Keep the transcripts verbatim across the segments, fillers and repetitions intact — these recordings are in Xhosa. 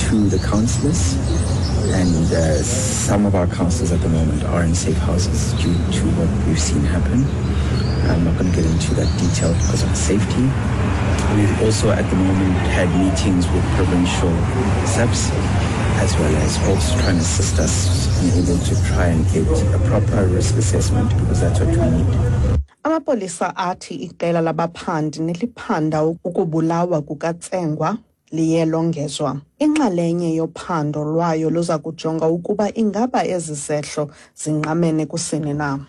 to the councillors, and uh, some of our councillors at the moment are in safe houses due to what we've seen happen. I'm not going to get into that detail because of safety. We've also at the moment had meetings with provincial S A Ps, as well as also trying to assist us in able to try and get a proper risk assessment, because that's what we need. Amapolisa athi iqela labaphandi neliphanda ukubulawa kukaTsengwa liye longezwa. Inxalenye yophando lwayo luza kujonga ukuba ingaba ezi zehlo zingqamene kusini na.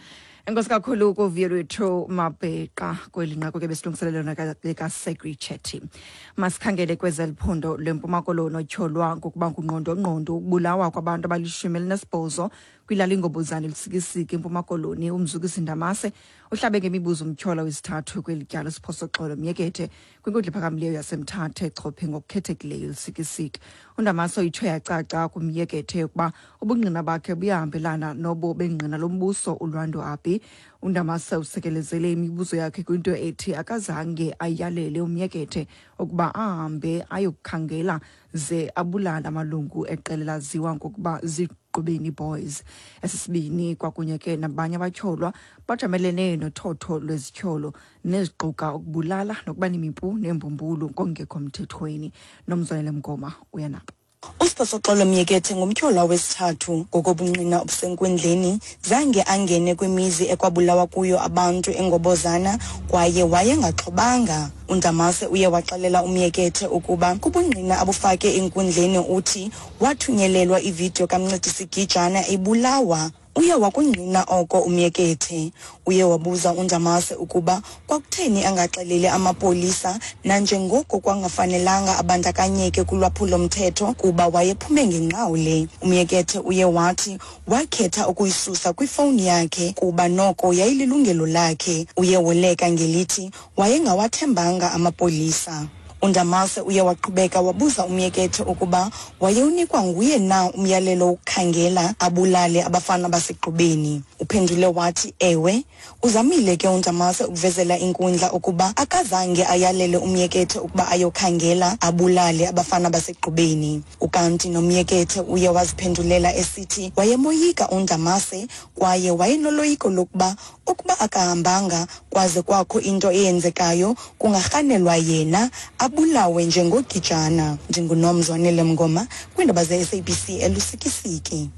Enkosi kakhulu kuviyo lwethu Mabheqa kweli nqaku ke besilungiselelwe likaSegri Chetty. Masikhangele kwezeliphondo lweMpuma Koloni otyholwa ngokuba ngungqondongqondo ukubulawa kwabantu abalishumi elinesibhozo kwilali Ngobozana eLusikisiki eMpuma Koloni. UMzukisi Ndamase uhlabe ngemibuzo umtyholwa wesithathu kweli tyala uSiphosoxolo Myekethe kwinkundla ephakamileyo yaseMthatha echophe ngokukhethekileyo eLusikisiki. UNdamase uyitsho yacaca kuMyekethe ukuba ubungqina bakhe buyahambelana nobo bengqina lombuso uLwando Abi. UNdamase usekelezele imibuzo yakhe kwinto ethi akazange ayalele uMyekethe ukuba ahambe ayokukhangela ze abulale amalungu eqela laziwa ngokuba ziGqubeni Boys. Esisibini kwakunye ke nabanye abatyholwa bajamelene nothotho lwezityholo neziquka ukubulala nokuba nemipu neembumbulu ngokungekho mthethweni. Nomzwanele Mngoma uyanaba. USiphosoxolo Myekethe ngumtyholwa wesithathu ngokobungqina obusenkundleni zange angene kwimizi ekwabulawa kuyo abantu eNgobozana kwaye wayengaxhobanga. UNdamase uye waxelela uMyekethe ukuba kubungqina abufake enkundleni uthi wathunyelelwa ividiyo kaMncedisi Gijana ebulawa. Uye wakungqina oko uMyekethe. Uye wabuza uNdamase ukuba kwakutheni angaxeleli amapolisa nanjengoko kwangafanelanga abandakanyeke kulwaphulo-mthetho kuba wayephume ngenqawule. UMyekethe uye wathi wakhetha ukuyisusa kwifowuni yakhe kuba noko yayililungelo lakhe. Uye woleka ngelithi wayengawathembanga amapolisa. UNdamase uye waqhubeka wabuza uMyekethe ukuba wayewunikwa nguye na umyalelo wokukhangela abulale abafana baseGqubeni. Uphendule wathi ewe. Uzamile ke uNdamase ukuvezela inkundla ukuba akazange ayalele uMyekethe ukuba ayokhangela abulale abafana baseGqubeni. Ukanti noMyekethe uye waziphendulela esithi wayemoyika uNdamase kwaye wayenoloyiko lokuba ukuba akahambanga kwaze kwakho into eyenzekayo kungarhanelwa yena abulawe njengogijana. NdinguNomzwanele Mngoma kwiindaba ze-S A B C eLusikisiki.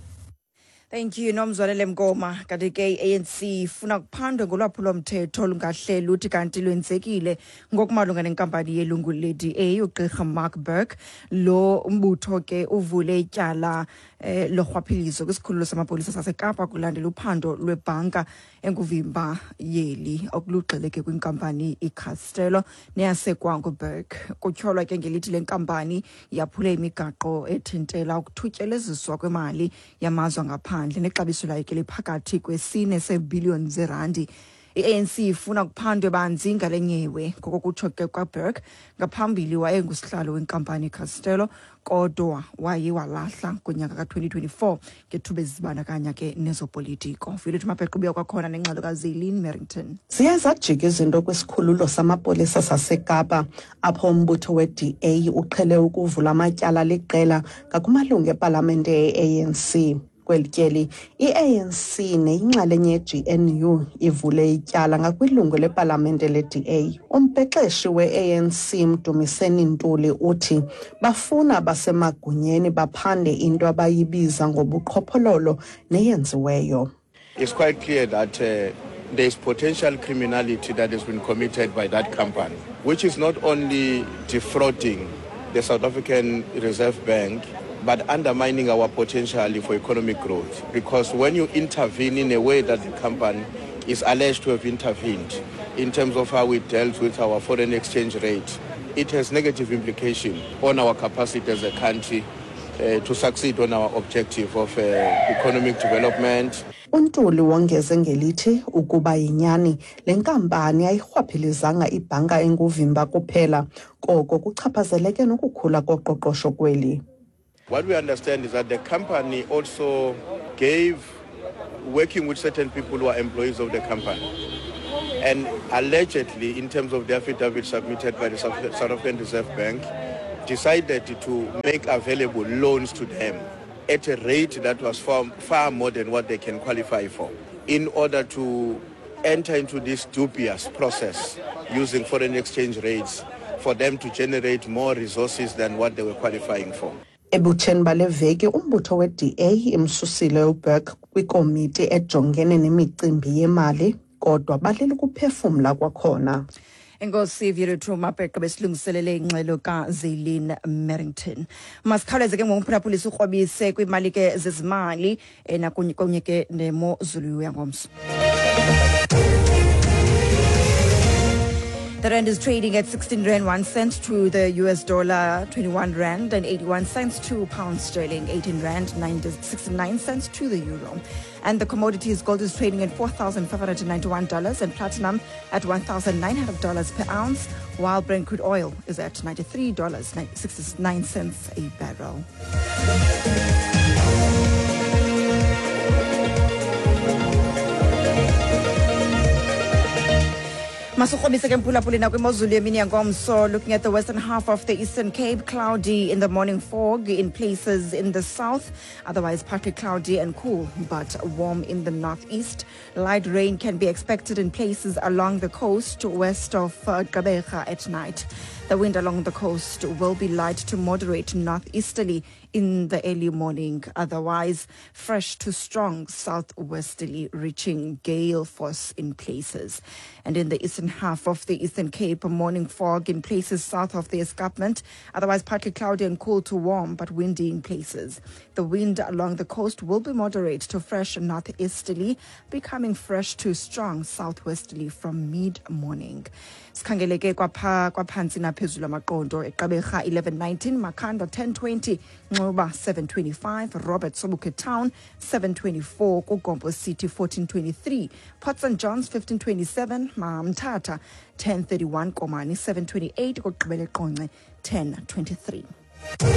Thank you Nomzwanele Mngoma. Kanti ke i-A N C ifuna kuphandwe ngolwaphulo-mthetho olungahleli uthi kanti lwenzekile ngokumalunga nenkampani yelungu le-D A uGqirha Mark Burke. Lo mbutho ke uvule ityala eh, lorhwaphilizo kwisikhululo samapolisa saseKapa kulandela uphando lwebhanka enguvimba yeli okulugxeleke kwinkampani iCastello neyasekwa nguBurke. Kutyholwa ke ngelithi le nkampani yaphule imigaqo ethintela ukuthutyeleziswa kwemali yamazwe angaphandle nexabiso layo ke liphakathi kwesine seebhiliyoni zerandi. I-A N C ifuna kuphandwe banzi ngale nyewe ngokokutsho ke kwaBurke. Ngaphambili wayengusihlalo wenkampani iCastello kodwa waye walahla ngonyaka ka-twenty twenty-four ngethuba ezibandakanya ke nezopolitiko. Violet Mabheqo ubuya kwakhona nengxelo kaZeline Merrington. Ziye zajika izinto kwisikhululo samapolisa saseKapa apho umbutho we-D A uqhele ukuvula amatyala liqela ngakumalungu epalamente ye-A N C. Kweli tyeli, i-A N C neyinxalenye ye-G N U ivule ityala ngakwilungu lepalamente le-D A. Umbhexeshi we-A N C Mdumiseni Ntuli uthi bafuna abasemagunyeni baphande into abayibiza ngobuqhophololo neyenziweyo. It's quite clear that, uh, there is potential criminality that has been committed by that company, which is not only defrauding the South African Reserve Bank, but undermining our potential for economic growth. Because when you intervene in a way that the company is alleged to have intervened in terms of how we dealt with our foreign exchange rate, it has negative implication on our capacity as a country, uh, to succeed on our objective of, uh, economic development. UNtuli wongeze ngelithi ukuba yinyani le nkampani ayirhwaphilizanga ibhanka enguvimba kuphela, koko kuchaphazeleke nokukhula koqoqosho kweli. What we understand is that the company also gave, working with certain people who are employees of the company, and allegedly, in terms of the affidavit submitted by the South African Reserve Bank, decided to make available loans to them at a rate that was far, far more than what they can qualify for, in order to enter into this dubious process using foreign exchange rates for them to generate more resources than what they were qualifying for. Ebutsheni bale veki umbutho we-D A imsusile uBurke kwikomiti ejongene nemicimbi yemali, kodwa balele ukuphefumla kwakhona. Enkosi, Vuyolwethu Mabheqe, besilungiselele ingxelo kaZelin Merrington. Masikhawuleze ke ngomphulaphuli sikrobise kwiimali ke zezimali eh, nakunye kunye ke nemozulu yangomso. The rand is trading at sixteen rand one cent to the U S dollar, twenty-one rand and eighty-one cents to pound sterling, eighteen rand sixty-nine cents to the euro. And the commodities: gold is trading at four thousand five hundred ninety-one dollars and platinum at one thousand nine hundred dollars per ounce, while Brent crude oil is at ninety-three dollars and sixty-nine cents a barrel. Masikrobise ke mphulaphuli nakwimozulu yemini yangomso. Looking at the western half of the Eastern Cape, cloudy in the morning, fog in places in the south, otherwise partly cloudy and cool but warm in the northeast. Light rain can be expected in places along the coast west of uh, Gqeberha at night. The wind along the coast will be light to moderate northeasterly in the early morning, otherwise fresh to strong southwesterly, reaching gale force in places. And in the eastern half of the Eastern Cape, morning fog in places south of the escarpment, otherwise partly cloudy and cool to warm but windy in places. The wind along the coast will be moderate to fresh northeasterly, becoming fresh to strong southwesterly from mid-morning. Sikhangele ke kwapha kwaphantsi naphezulu amaqondo: eGqeberha eleven nineteen, Makhanda ten twenty, Nxuba seven twenty-five, Robert Sobukwe Town seven twenty-four, KuGompo City fourteen twenty-three, Port Saint Johns fifteen twenty-seven, Mthatha ten thirty-one, Komani seven twenty-eight, kokugqibela eQonce ten twenty-three.